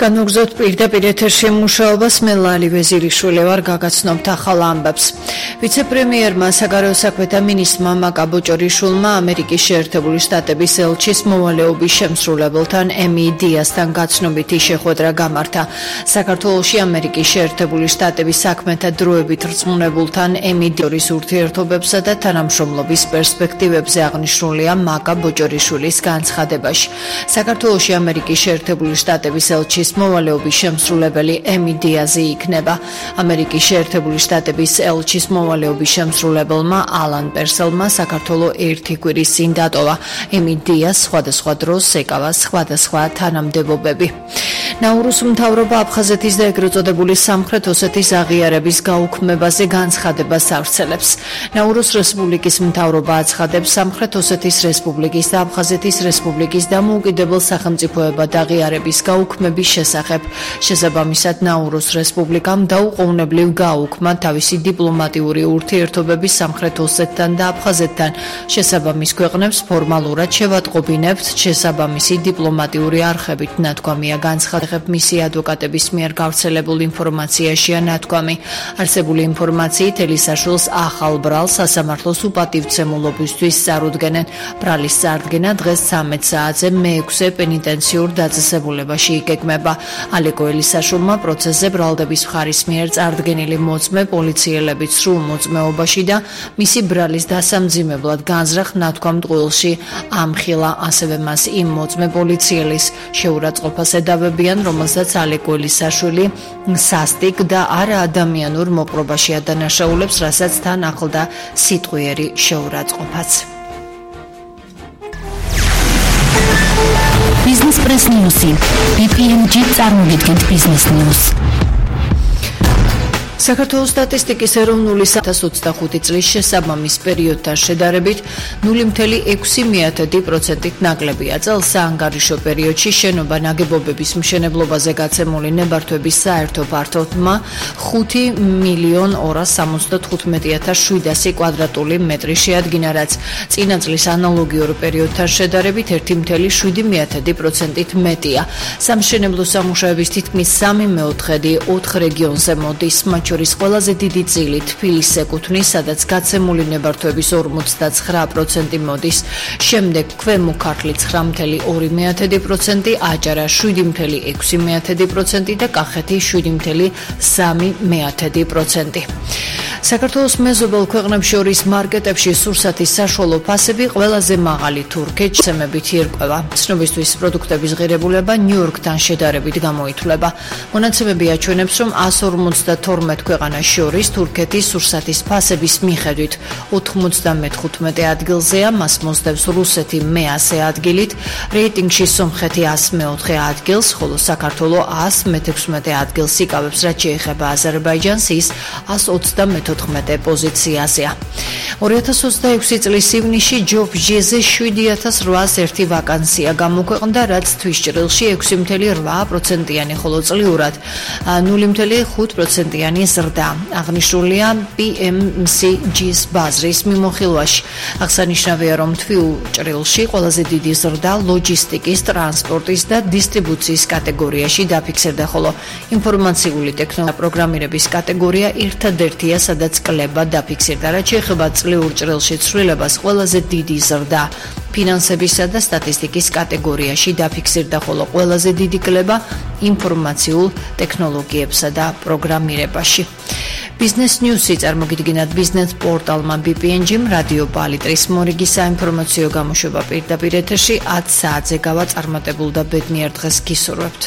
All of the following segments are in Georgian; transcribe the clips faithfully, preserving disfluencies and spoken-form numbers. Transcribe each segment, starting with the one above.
განვაგრძოთ პირდაპირ ეთერში მუშაობას მე ლალი ვეზირიშვილი ვარ გაგაცნობთ ახალ ამბებს. ვიცე-პრემიერმა საგარეო საქმეთა მინისტრმა მაკა ბოჭორიშვილმა ამერიკის შეერთებული შტატების ელჩის მოვალეობის შემსრულებელთან ემი დიასთან გაცნობითი შეხვედრა გამართა. საქართველოში ამერიკის შეერთებული შტატების საქმეთა დროებით რწმუნებულთან ემი დიორის ურთიერთობებსა და თანამშრომლობის პერსპექტივებზე აღნიშნულია მაკა ბოჭორიშვილის განცხადებაში. საქართველოში ამერიკის შეერთებული შტატების ელჩის მოვალეობის შემსრულებელი ემი დიაზი იქნება. ამერიკის შეერთებული შტატების ელჩის მოვალეობის შემსრულებელმა ალან პერსელმა საქართველოს ერთი კვირის წინ დატოვა. ემი დიას სხვადასხვა დროს ეკავა სხვადასხვა თანამდებობები. ნაურუს მთავრობა აფხაზეთის და ეგრეთ წოდებული სამხრეთ ოსეთის აღიარების გაუქმებაზე განცხადებას ავრცელებს. ნაურუს რესპუბლიკის მთავრობა აცხადებს სამხრეთ ოსეთის რესპუბლიკის და აფხაზეთის რესპუბლიკის დამოუკიდებელ სახელმწიფოებად აღიარების გაუქმების შესახებ. შესაბამისად ნაურუს რესპუბლიკამ დაუყოვნებლივ გააუქმა თავისი დიპლომატიური ურთიერთობები სამხრეთ ოსეთთან და აფხაზეთთან. შესაბამის ქვეყნებს ფორმალურად შევატყობინებთ შესაბამისი დიპლომატიური არხებით ნათქვამია განცხადება. მისი ადვოკატების მიერ გავრცელებულ ინფორმაციაშია ნათქვამი. არსებული ინფორმაციით ელისაშვილს ახალ ბრალს სასამართლოს უპატივცემულობისთვის წარუდგენენ. ბრალის წარდგენა დღეს ცამეტ საათზე მეექვსე პენიტენციურ დაწესებულებაში იგეგმება. ალეკო ელისაშვილმა პროცესზე ბრალდების მხარის მიერ წარდგენილი მოწმე პოლიციელებით სრულ მოწმეობაში და მისი ბრალის დასამძიმებლად განზრახ ნათქვამ ტყუილში ამხილა. ასევე მას იმ მოწმე პოლიციელის შეურაცხყოფას ედავებიან, რომელსაც ალეკო ელისაშვილი სასტიკ და არაადამიანურ მოპყრობაში ადანაშაულებს, რასაც თან ახლდა სიტყვიერი შეურაცხყოფაც. Business Press News. ბი პი ენ ჯი წარმოგიდგენთ Business News. საქართველოს სტატისტიკის ეროვნული deux mille ოცდახუთი წლის შესაბამის პერიოდთან შედარებით ნული მცდე ექვსი პროცენტით ნაკლებია. წელს საანგარიშო პერიოდში შენობა ნაგებობების მშენებლობაზე გაცემული ნებართვების საერთო ფართობმა ხუთი მილიონ ორას სამოცდათხუთმეტი ათას შვიდასი კვადრატული მეტრი შეადგინა, რაც წინა წლის ანალოგიურ პერიოდთან შედარებით ერთი მცდე შვიდი პროცენტით მეტია. სამშენებლო სამუშაოების თითქმის სამი მეოთხედი ოთხ რეგიონზე მოდის. შორის ყველაზე დიდი წილი თბილისს ეკუთვნის, სადაც გაცემული ნებართვების ორმოცდაცხრა პროცენტი მოდის. შემდეგ ქვემო ქართლი ცხრა მცდე ორი პროცენტი, აჭარა შვიდი მცდე ექვსი პროცენტი და კახეთი შვიდი მცდე სამი პროცენტი. საქართველოს მეზობელ ქვეყნებს შორის მარკეტებში სურსათის საშუალო ფასები ყველაზე მაღალი თურქეთში ცემებით ირკვევა. ცნობისთვის პროდუქტების ღირებულება ნიუ-იორკთან შედარებით გამოითვლება. მონაცემები აჩვენებს, რომ εκατს ორმოცდათორმეტ ქვეყანას შორის თურქეთის სურსათის ფასების მიხედვით ოთხმოცდამეხუთმეტე ადგილზეა, მას მოსდევს რუსეთი მეასე ადგილით, რეიტინგში სომხეთი εκას მეოთხე ადგილს, ხოლო საქართველო εκას მეთექვსმეტე ადგილს იკავებს, რაც შეეხება აზერბაიჯანს, ის εκას ოცდამეთოთხმეტე პოზიციაზეა. ორი ათას ოცდაექვსი წლის ივნისში ჯობჟიზე შვიდი ათას რვაას ერთი ვაკანსია გამოქვეყნდა, რაც თვის ჭრილში ექვსი მცდე რვა პროცენტიანი, ხოლო წლიურად ნული მცდე ხუთ პროცენტიანი ზრდა. აღნიშნულია პი ემ სი ჯის ბაზრის მიმოხილვაში. აღსანიშნავია, რომ თვიულ ჭრილში ყველაზე დიდი ზრდა ლოჯისტიკის, ტრანსპორტის და დისტრიბუციის კატეგორიაში დაფიქსირდა, ხოლო ინფორმაციული ტექნოლოგია პროგრამირების კატეგორია ერთადერთია, სადაც კლება დაფიქსირდა. რაც შეეხება წლიურ ჭრილში ცვლილებას, ყველაზე დიდი ზრდა ფინანსებისა და სტატისტიკის კატეგორიაში დაფიქსირდა, ხოლო ყველაზე დიდი კლება ინფორმაციულ ტექნოლოგიებსა და პროგრამირებაში. Business News-ი წარმოგიდგენთ ბიზნეს პორტალმა ბი პი ენ ჯი-მ რადიო პალიტრის მორიგი საინფორმაციო გამოშვება პირდაპირ ეთერში ათ საათზე გავა წარმატებულ და ბედნიერ დღეს გისურვებთ.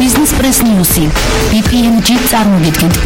Business Press News-ი ბი პი ენ ჯი წარმოგიდგენთ